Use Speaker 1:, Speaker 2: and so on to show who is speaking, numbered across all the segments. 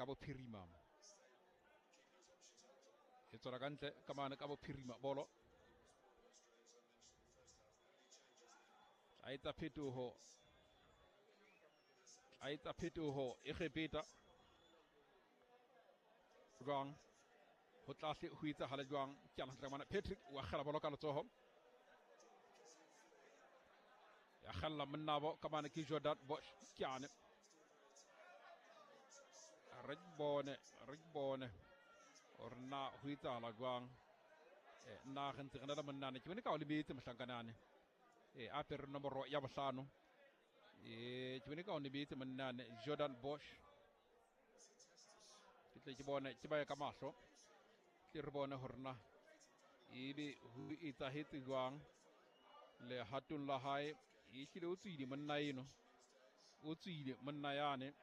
Speaker 1: bophirima. E tswela ka ntle ka mane ka bophirima bolo. A etsa phetoho. A etsa phetoho Egepeta. Jwang? Ho tlase ho etsahala jwang? Ke ana hantle mane Patrick wa kgela bolo ka letsoho. Ya kgella monnabo ka mane ke Jordan Bosch ke ane. Re bone hore na ho etsahala jwang. Nna re ntse re na le monnane ke bone ka o lebetse mohlankanane. A apere nomoro ya bohlano. Ke bone ka o lebetse monnane Jordan Bosch. Ke tle ke bone ke ba ye ka mahlo. Tle re bone hore na ebe ho etsahetse jwang lehatong la hae. Ehlile o tswile monna eno. O tswile monna yane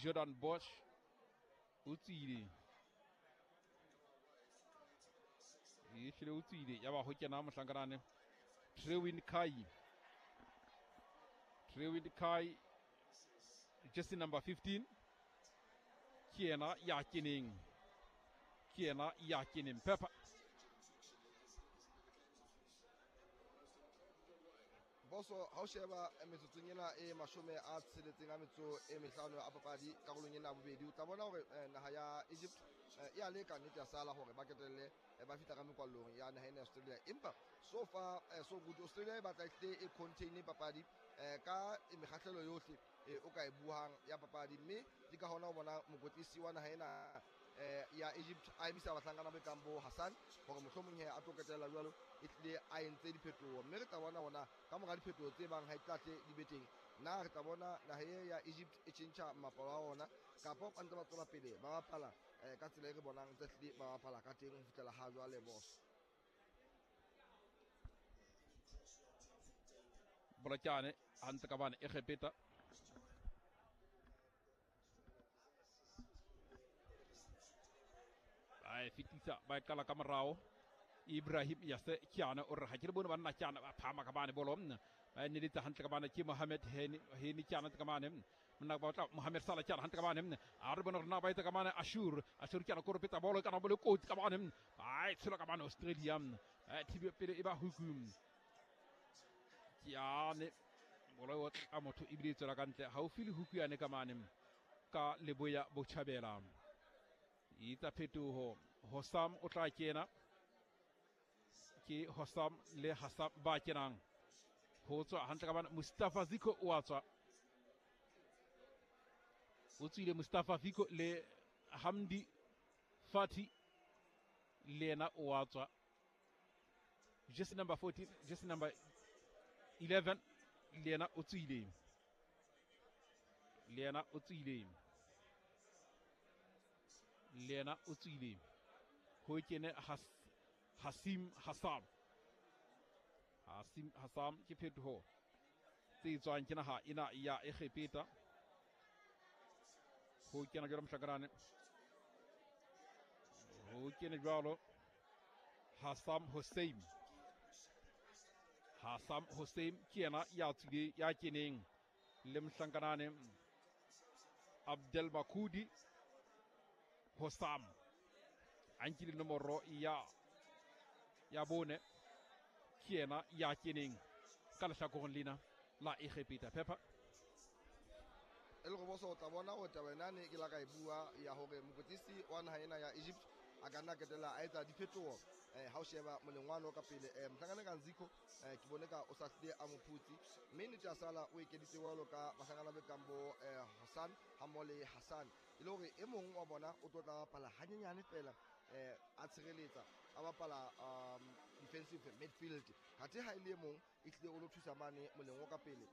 Speaker 1: Jordan Bosch o tswile. Ehlile o tswile ya ba ho kena mohlankanane Trewin Kai. Trewin Kai jersey number 15 ke yena ya keneng. Ke yena ya keneng Pepper.
Speaker 2: Boso ha o sheba metsotsong ena e 65 a metso e mehlano a papadi karolong ena ya bobedi, o tla bona hore naha ya Egypt e a leka nnete ya sala hore ba ketelle ba fihla ka mekwallong ya naha ena ya Australia. Empa so far so good, Australia e batla ehlile e contain papadi ka mekgahlelo yohle o ka e buang ya papadi, mme ke ka hona o bona mokwetlisi wa naha ena ya Egypt a emisa bahlankana ba kang bo Hassan hore mohlomong he a tlo ketella jwalo e tlile a entse diphetoho. Mme re tla bona hona ka mora diphetoho tse bang ha e tla tle di be teng, na re tla bona naha e ya Egypt e tjhentjha mmapalo wa ona kapa ba ntse ba tswela pele ba bapala ka tsela e re bonang tse tlile ba bapala ka teng ho fihlela ha jwale boss.
Speaker 1: Bolokane hantle ka bane Egepeta. Ba e fetisa ba e qala ka morao. Ibrahim Yase Kiana o re ha ke le bone banna Kiana ba phama ka bane bolo ba e neletsa hantle ka bane ke Mohamed Heni Kiana ka bane monna ba tla Mohamed Salah Kiana hantle ka bane a re bone rena ba etsa ka bane Ashur Kiana koropetsa bolo kana bolo kotsi ka bane ba e tshola ka bane Australia thibe pele e ba hukum Kiana bolo e otla motho ebile e tswela ka ntle haufi le huku yane ka mane ka leboya botjhabela. Etsa phetoho Hossam o tla kena. Ke Hossam le Hassam ba kenang ho tswa hantle ka bana Mustafa Ziko o a tswa. O tswile Mustafa Ziko le Hamdi Fati le yena o a tswa. Jersey number 14, jersey number 11 le yena o tswile. Le yena o tswile. Le yena o tswile. Ho kene Hasim Hassam. Hasim Hassam ke phetoho tse tswang ke naha ena ya Egepeta. Ho kena jwalo mohlakanane. Ho kene jwalo Hassam Hossein. Hassam Hossein ke yena ya tswile ya keneng le mohlankanane Abdel Makudi Hossam. A nkile nomoro ya bone ke yena ya keneng ka lehlakoreng lena la Egepeta. Pepper
Speaker 2: e le go boso o tla bona hore taba ena ne ke la ka e bua ya hore mokwetlisi wa naha ena ya Egypt a ka nna ketela a etsa diphetoho ha o sheba molengwane o ka pele mohlankana ka Nziko ke bone ka o sa hlile a mophutsi, mme nnete ya sala o ekeditse jwalo ka bahlankana ba kang bo Hassan hammoho le Hassan, e le hore e mong wa bona o tlo tla bapala hanyenyane fela a tshireletsa a bapala defensive midfield, kathe ha e le e mong e tlile o lo thusa mane moleng o ka pele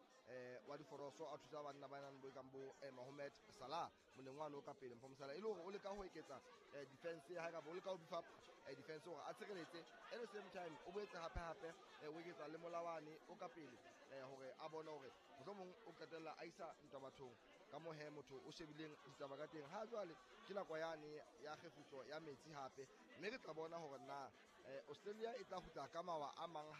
Speaker 2: wa diforoso a thusa banna ba nang bo kang bo Mohamed Salah moleng wa no ka pele Mohamed Salah e le hore o leka ho eketsa defense ya hae kapa o leka ho beef up defense hore a tshireletse at the same time o boetse hape o eketsa le molawane o ka pele hore a bone hore mohlomong o qetella a isa ntwa bathong ka mo he motho o shebileng ditaba ka teng. Ha jwale ke nako yane ya kgefutso ya metsi hape, mme re tla bona hore na Australia e tla kgutla ka mawa a mang.